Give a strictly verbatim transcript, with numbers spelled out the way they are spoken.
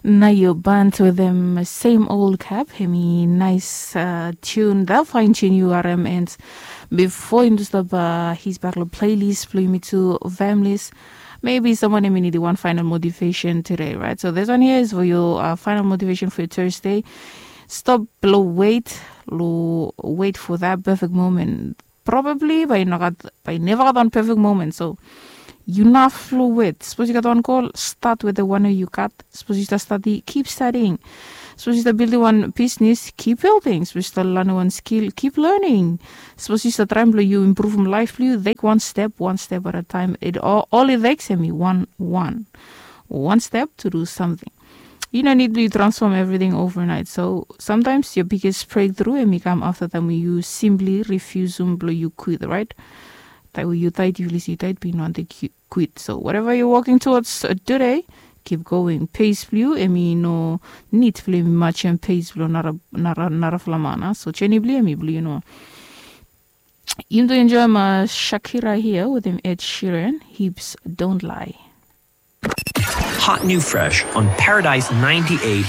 Nayo band wetem sem ol kap hemi nais tun da fain tun yu harim and bifo yumi tu stap his bak long pleilis blong yumi tu familis. Maybe someone hemi nidim wan final motivation today, right? So this one here is for your uh, final motivation for your Thursday. Stop long wait, long wait for that perfect moment. Probably bai yu no gat bai yu neva gat wan perfect moment, so yu naf long wet. Sapos yu gat wan gol, stat wetem wan we yu gat. Sapos yu stap stadi, kip stadiing. Sapos yu stap bildim wan bisnis, kip bildim. Sapos yu stap lanem wan skil, kip lening. Sapos yu stap traem blong yu impruvum laef blong yu, tek wan step, wan step at a time. It all, all it takes hemi wan, wan, wan step to do something. Yu no nid blong yu transfom evriting overnight. So sometimes your biggest breakthrough hemi kam afta taem we yu simply refusum blong yu quit, right? Taem we yu taet, yu list yu taet, be yu no wantem quit. So whatever you're working towards uh, today, keep going. Pace blong yu hemi no nid blong yu matchem pace blong nara nara nara flamana. So journey blong yu hemi blong yu no. Yumi tu enjoy ma Shakira here with him Ed Sheeran. Hips don't lie. Hot new fresh on Paradise ninety-eight.